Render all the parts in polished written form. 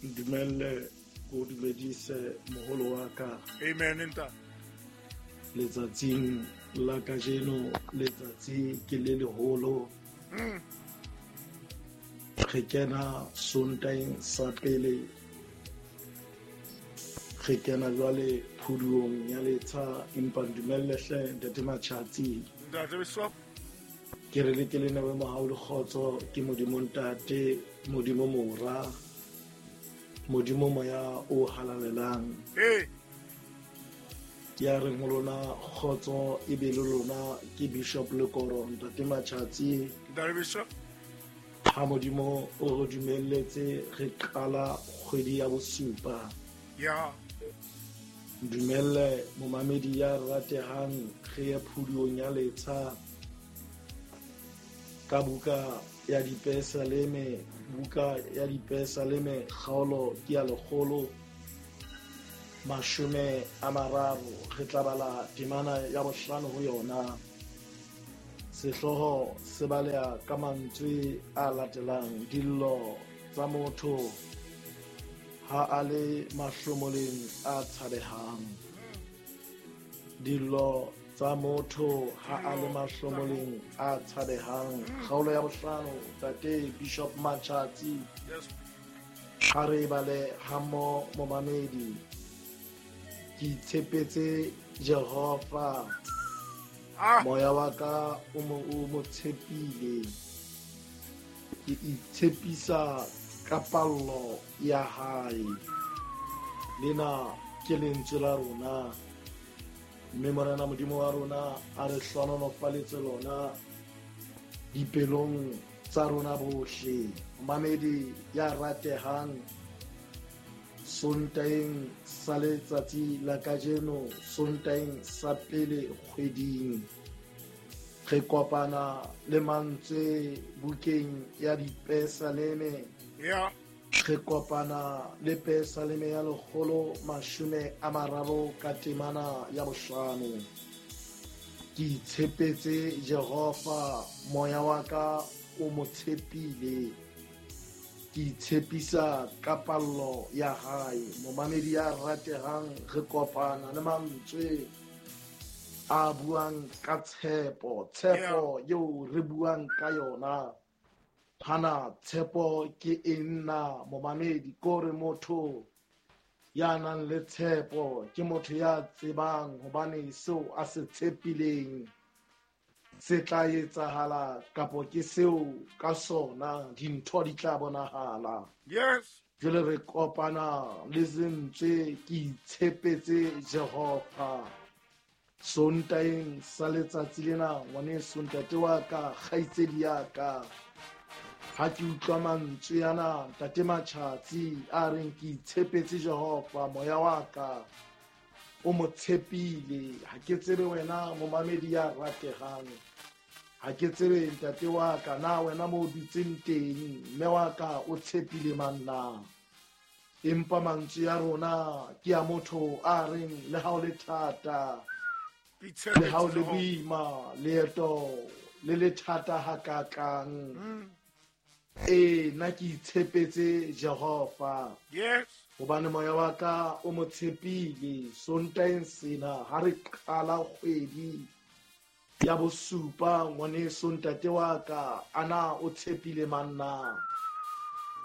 Ntumelle ko dumedise moholo wa ka. Amen ntate. Letsatsing la kajeno, letsatsi ke le leholo. Re kena Sontaeng sa pele, re kena jwale phuduong ya letsha, empa ntumelle hle ntate Matjhatsi. Ntate Bishop. Ke re le ke le newe mohau le kgotso ke Modimo Ntate, Modimo Mora, Modimo Moya o halalelang. Ee. Ya reng ho lona kgotso e be le lona ke Bishop Lekoro ntate Matjhatsi. Ntate Bishop. Ha Modimo o re dumelletse re qala kgwedi ya bosupa. Ya. Dumelle momamedi ya ratehang re ye phuduong ya letsha ka buka ya Dipesaleme, buka ya Dipesaleme kgaolo ke ya 130, re tla bala temana ya 5 ho yona. Sehlooho se baleha ka mantswe a latelang: dillo tsa motho ha a le mahlomoleng a tshabehang. Dillo tsa motho ha a le mahlomoleng a tshabehang. Kgaolo ya 5, tate Bishop Matjhatsi. Yes. Ha re bale hammo momamedi. Ke itshepetse Jehova. Moya wa ka o mo tshepile. Ke itshepisa ka pallo ya hae. Lena ke lentswe la rona. Mme Morena Modimo wa rona a re hlohonolofaletse lona dipelong tsa rona bohle. Mamedi ya ratehang, Sontaeng sa letsatsi la kajeno, Sontaeng sa pele kgweding, re kopana le mantswe bukeng ya Dipesaleme. Yeah. Re kopana le Pesaleme ya 130 ka temana ya 5. Ke itshepetse Jehova, moya wa ka o mo tshepile. Ke itshepisa ka pallo ya hae. Momamedi ya ratehang, re kopana le mantswe a buang ka tshepo, tshepo eo re buang ka yona. Hana tshepo ke eng na momamedi? Kore motho ya nang le tshepo ke motho ya tsebang hobane seo a se tshepileng se tla etsahala, kapo ke seo ka sona dintho di tla bonahala. Yes. Jwale re kopana le lentswe ke itshepetse Jehova. Sontaeng sa letsatsi lena, ngwaneso, ntate wa ka, kgaitsedi ya ka, ha ke utlwa mantswe ana ntate Matjhatsi a reng ke itshepetse Jehova, moya wa ka o mo tshepile. Ha ke tsebe wena momamedi ya ratehang, ha ke tsebe ntate wa ka, na wena mo o dutseng teng, mme wa ka o tshepile mang na? Empa mantswe ya rona ke a motho a reng le ha o le thata, le ha o le boima, leeto le le thata hakakang, ee, nna ke itshepetse Jehova. Yes. Hobane moya wa ka o mo tshepile. Sontaeng sena ha re qala kgwedi ya bosupa, ngwaneso, ntate wa ka, ana o tshepile mang na?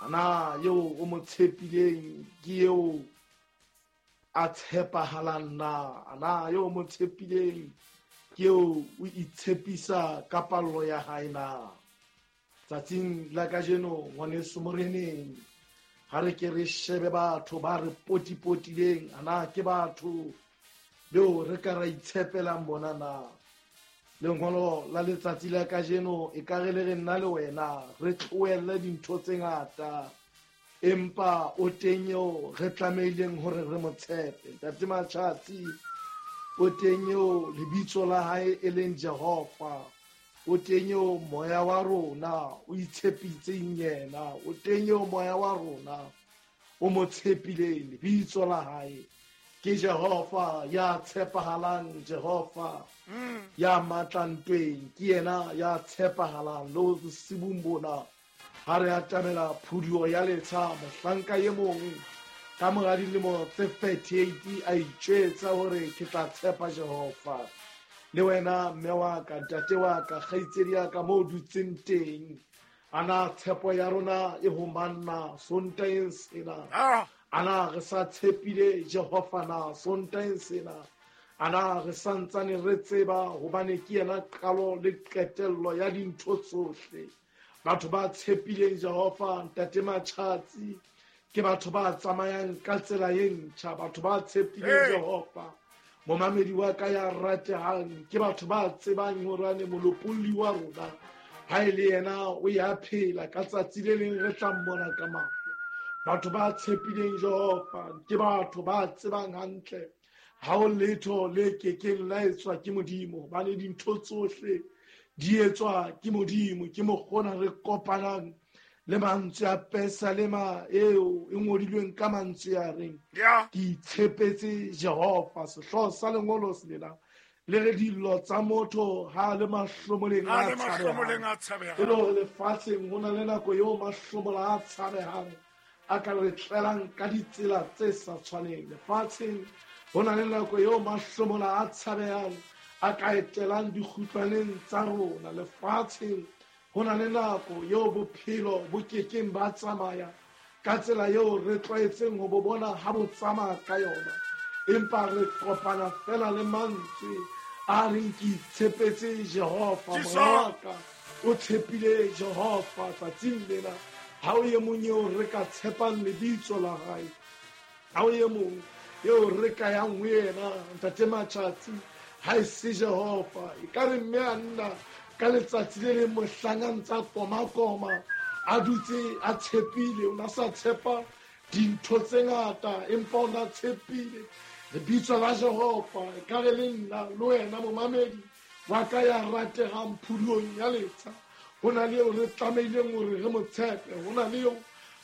Ana eo o mo tshepileng ke eo a tshepahalang na? Ana eo o mo tshepileng ke eo o itshepisa ka pallo ya hae na? Tsatsing la kajeno, ngwaneso moreneng, ha re ke re shebe batho ba re potipotileng, ana ke batho beo re ka ra itshepelang bona na? Lengolo la letsatsi la kajeno e ka re le re nna le wena re tlohelle dintho tse ngata, empa o teng eo re tlamehileng hore re mo tshepe. Ntate Matjhatsi, o teng eo lebitso la hae e leng Jehova, o teng eo moya wa rona o itshepitseng yena, o teng eo moya wa rona o mo tshepileng, lebitso la hae ke Jehova ya tshepahalang, Jehova ya matla ntweng, ke yena ya tshepahalang. Le bosibung bona Ha re atamela phuduo ya letsha, mohlanka e mong ka mora dilemo tse 38 a itjwetsa hore ke tla tshepa Jehova. Le wena mme wa ka, ntate wa ka, kgaitsedi ya ka mo dutseng teng, ana tshepo ya rona e ho manna Sontaheng sena? Ana re sa tshepile Jehova na Sontaheng sena? Ana re santsane re tseba hobane ke yena qalo le qetello ya dintho tsohle? Batho ba tshepileng Jehova, ntate Matjhatsi, ke batho ba tsamayang ka tsela e ntjha. Batho ba tshepileng Jehova, momamedi wa ka ya ratehang, ke batho ba tsebang hore molopolli wa rona ha e le yena o ya phela, ka tsatsi le leng re tla mmona ka mahlo. Batho ba tshepileng Jehova ke batho ba tsebang hantle ha o letho le kekeng la etswa ke Modimo, hobane dintho tsohle di etswa ke Modimo. Ke mokgona re kopanang le mantswe a Pesalema eo e ngodilweng ka mantswe a reng ke itshepetse Jehova. Sehlooho sa lengolo lena le re dillo tsa motho ha le mahlomoleng a tshabehang. E le hore lefatsheng ho na le nako eo mahlomola a tshabehang a ka re tlelang ka ditsela tse sa tshwaneng. Lefatsheng ho na le nako eo mahlomola a tshabehang a ka etelang dikgutlwaneng tsa rona. Lefatsheng ho na le nako eo bophelo bo kekeng ba tsamaya ka tsela eo re tlwaetseng ho bo bona ha bo tsamaya ka yona, empa re kopana fela le mantswe a reng ke itshepetse Jehova. Moya wa ka o tshepile Jehova tsatsing lena. Ha o e mong eo re ka tshepang lebitso la hae, ha o e mong eo re ka yang ho yena, ntate Matjhatsi, ha e se Jehova. E ka re mme a nna ka letsatsi le leng mohlang a ntsa koma-koma, a dutse a tshepile, o na sa tshepa dintho tse ngata, empa o na tshepile lebitso la Jehova. E ka re le nna le wena momamedi wa ka ya ratehang phuduong ya letsha, ho na le eo re tlamehileng hore re mo tshepe, ho na le eo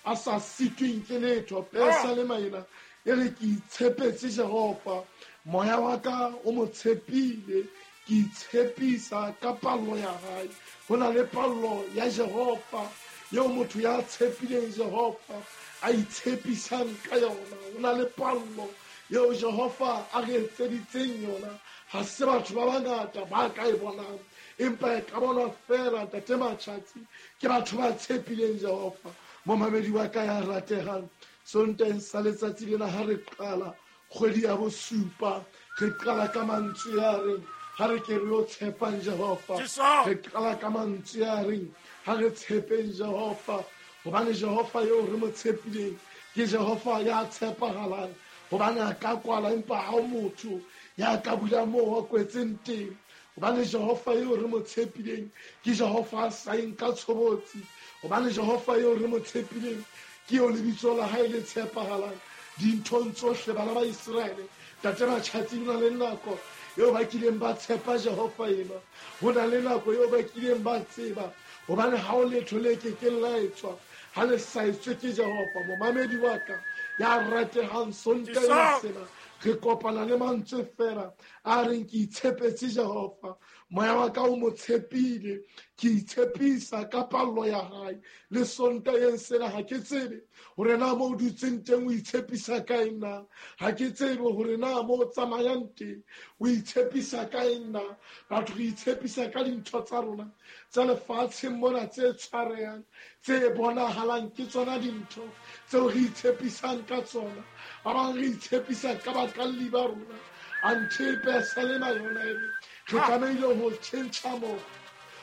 a sa sitweng ke letho. Pesalema ena e re ke itshepetse Jehova, moya wa ka o mo tshepile, ke itshepisa ka pallo ya hae. Ho na le pallo ya Jehova eo motho ya tshepileng Jehova a itshepisang ka yona. Ho na le pallo eo Jehova a re etseditseng yona. Ha se batho ba bangata ba ka e bonang, empa e ka bonwa fela, ntate Matjhatsi, ke batho ba tshepileng Jehova. Momamedi wa ka ya ratehang, Sontaheng sa letsatsi lena ha re qala kgwedi ya bosupa, re qala ka mantswe a reng ha re ke re yo tshepang Jehova. Re qala ka mantswe a reng ha re tshepeng Jehova, hobane Jehova eo re mo tshepileng ke Jehova ya tshepahalang, hobane a ka kwala empa ha o motho ya ka bula moo a kwetseng teng. Hobane Jehova eo re mo tshepileng ke Jehova a sa eng ka tshobotsi, hobane Jehova eo re mo tshepileng ke eo lebitso la hae le tshepahalang dinthong tsohle. Bana ba Iseraele, ntate Matjhatsi, ho na le nako eo ba kileng ba tshepa Jehova ena, ho na le nako eo ba kileng ba tseba hobane ha o letho le kekeng la etswa ha le sa etswe ke Jehova. Momamedi wa ka ya ratehang, Sontaheng sena re kopana le mantswe fela a reng ke itshepetse Jehova, moya wa ka o mo tshepile, ke itshepisa ka pallo ya hae. Le Sontaheng sena ha ke tsebe hore na mo o dutseng teng o itshepisa ka eng na, ha ke tsebe hore na mo o tsamayang teng o itshepisa ka eng na. Batho re itshepisa ka dintho tsa rona tsa lefatsheng mona tse tshwarehang, tse bonahalang, ke tsona dintho tseo re itshepisang ka tsona. Ba bang re itshepisa ka bakalli ba rona, anthe Pesalema yona e re re tlamehile ho tjhentjha mokgwa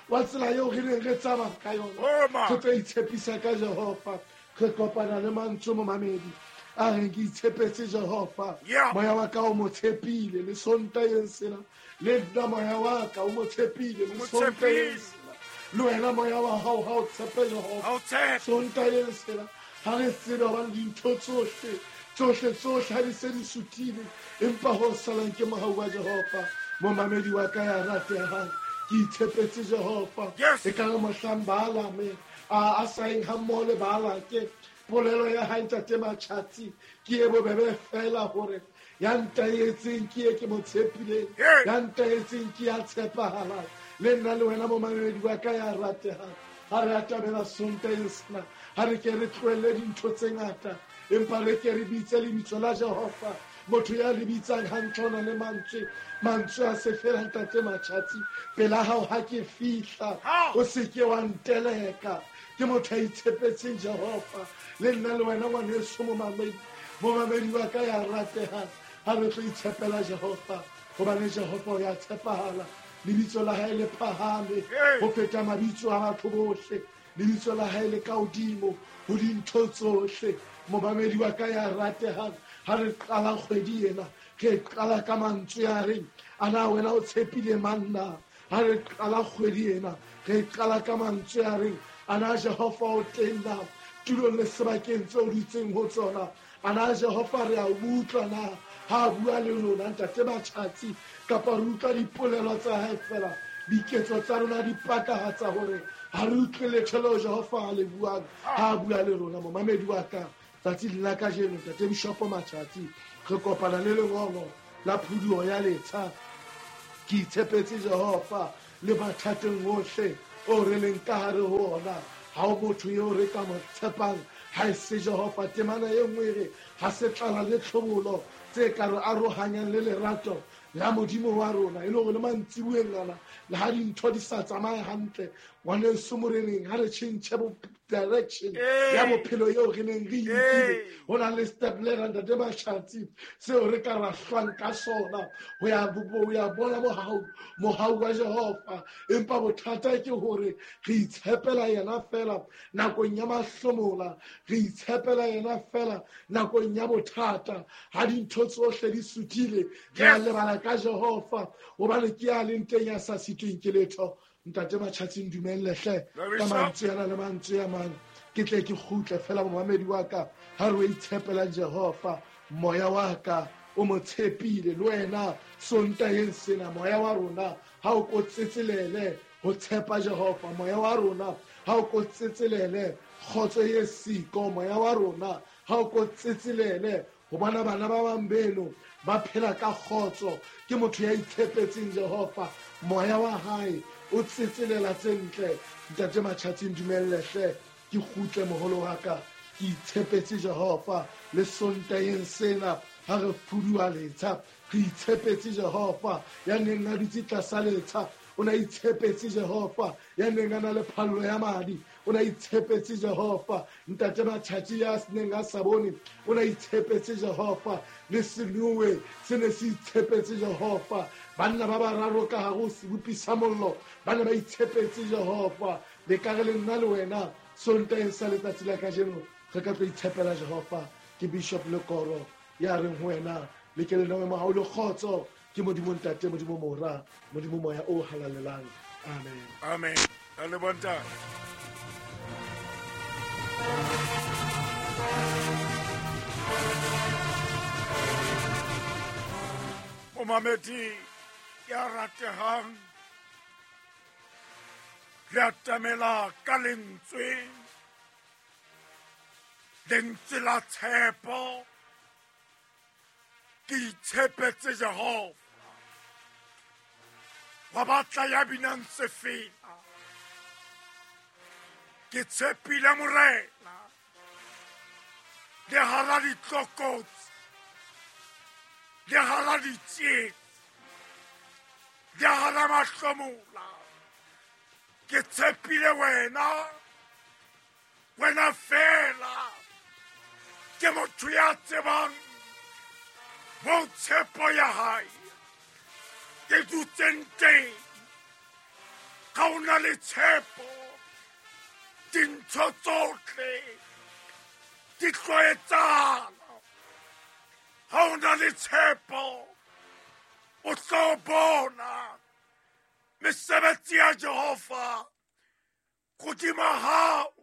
wa tsela eo re neng re tsamaya ka yona, re tlo itshepisa ka Jehova. Re kopana le mantswe momamedi a reng ke itshepetse Jehova, moya wa ka o mo tshepile. Le Sontaheng sena le nna moya wa ka o mo tshepile. Le Sontaheng sena le wena moya wa hao ha o tshepe Jehova. Sontaheng sena ha re tsebe hobane dintho tsohle tsohle tsohle ha di se di suthile, empa ho salang ke mohau wa Jehova. Momamedi wa ka ya ratehang, ke itshepetse Jehova. E ka re mohlang Baalame a sa eng ha mmoho le Baalake, polelo ya hae ntate Matjhatsi ke e bobebe fela hore ya ntaetseng ke e ke mo tshepileng, ya ntaetseng ke ya tshepahalang. Le nna le wena momamedi wa ka ya ratehang, Ha re atamela Sontaheng sena, ha re ke re tlohelle dintho tse ngata, empa re ke re bitse lebitso la Jehova. Motho ya le bitsang hantle o na le mantswe, mantswe a se fela ntate Matjhatsi. Pela hao ha ke fihla, o se ke wa nteleka. Ke motho a itshepetseng Jehova. Le nna le wena ngwaneso momamedi, momamedi wa ka ya ratehang, ha re tlo itshepela Jehova, hobane Jehova o ya tshepahala. Lebitso la hae le phahame ho feta mabitso a batho bohle. Lebitso la hae le ka hodimo ho dintho tsohle. Momamedi wa ka ya ratehang, ha re qala kgwedi ena, re qala ka mantswe a reng, ana wena o tshepile mang na? Ha re qala kgwedi ena, re qala ka mantswe a reng, ana Jehova o teng na tulong le sebakeng tseo o dutseng ho tsona? Ana Jehova re a utlwa na ha a bua le rona ntate Matjhatsi, kapa re utlwa dipolelo tsa hae fela? Diketso tsa rona di pakahatsa hore ha re utlwe letho leo Jehova a le buang ha a bua le rona. Momamedi wa ka, tsatsing la kajeno ntate Bishopo Matjhatsi, re kopana le lengolo la phuduho ya letsha. Ke itshepetse Jehova le mathateng ohle o re leng ka hare ho ona. Ha o motho eo re ka mo tshepang ha e se Jehova. Temana e nngwe e re ha se tlala le tlhobolo tse ka re arohanyang le lerato la Modimo wa rona. E le hore le mantsibueng ana, le ha dintho di sa tsamaye hantle, ngwaneso moreneng, ha re tjhentjhe bo direction ya bophelo eo re neng re inkile. Ho na le step le ntate Matjhatsi seo re ka ra hlwang ka sona ho ya bona mohau wa Jehova. Empa bothata ke hore re itshepela yena fela nakong ya mahlomola, re itshepela yena fela nakong ya bothata. Ha dintho tsohle di suthile, re a lebala ka Jehova, hobane ke ya leng teng ya sa sitweng ke letho. Ntate Matjhatsi, ndumelle hle ka mantswe ana le mantswe a mang, ke tle ke kgutle fela. Momamedi wa ka, ha re o itshepelang Jehova, moya wa ka o mo tshepile. Le wena Sontaheng sena, moya wa rona ha o ko tsetselele ho tshepa Jehova. Moya wa rona ha o ko tsetselele kgotso e siko. Moya wa rona ha o ko tsetselele ho bona bana ba bang beno ba phela ka kgotso. Ke motho ya itshepetseng Jehova, moya wa hae o tsetselela tse ntle. Ntate Matjhatsi, ndumelle hle ke kgutle moholo wa ka. Ke itshepetse Jehova le Sontaheng sena ha re phuduwa letsha, re itshepetse Jehova. Ya neng a dutse tlasa letsha o na itshepetse Jehova. Ya neng a na le phallo ya madi o na itshepetse Jehova. Ntate Matjhatsi ya neng a sa bone o na itshepetse Jehova. Le Senowe se ne se itshepetse Jehova. Banna ba bararo ka hare ho sebopi sa mollo ba ne ba itshepetse Jehova. Le ka re le nna le wena Sontaheng sa letsatsi la kajeno re ka tlo itshepela Jehova. Ke Bishop Lekoro ya reng ho wena, le ke le newe mohau le kgotso ke Modimo Ntate, Modimo Mora, Modimo Moya o halalelang. Amen. Amen. A le bontate. Momamedi ya ratehang, re atamela ka lentswe, lentswe la tshepo. Ke itshepetse Jehova. Wa batla ya binang sefela, ke tshepile Morena le hara ditlokotsi, le hara ditsietsi, le hara mahlomola. Ke tshepile wena, wena fela. Ke motho ya tsebang mo tshepo ya hae ke dutseng teng. Ka o na le tshepo, dintho tsohle di tlo etsahala. Ha o na le tshepo, o tlo bona mesebetsi ya Jehova hodima hao.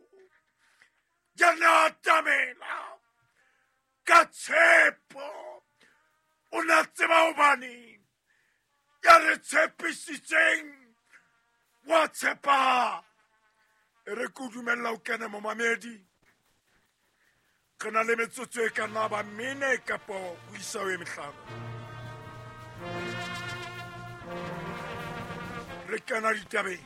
Ya na atamela ka tshepo. O na tseba hobane ya re tshepisitseng wa tshepahala. E re ke o dumella o kene momamedi. Re na le metsotso e ka nna ba mene kapa ho isa ho e mehlano. Re kena ditabeng.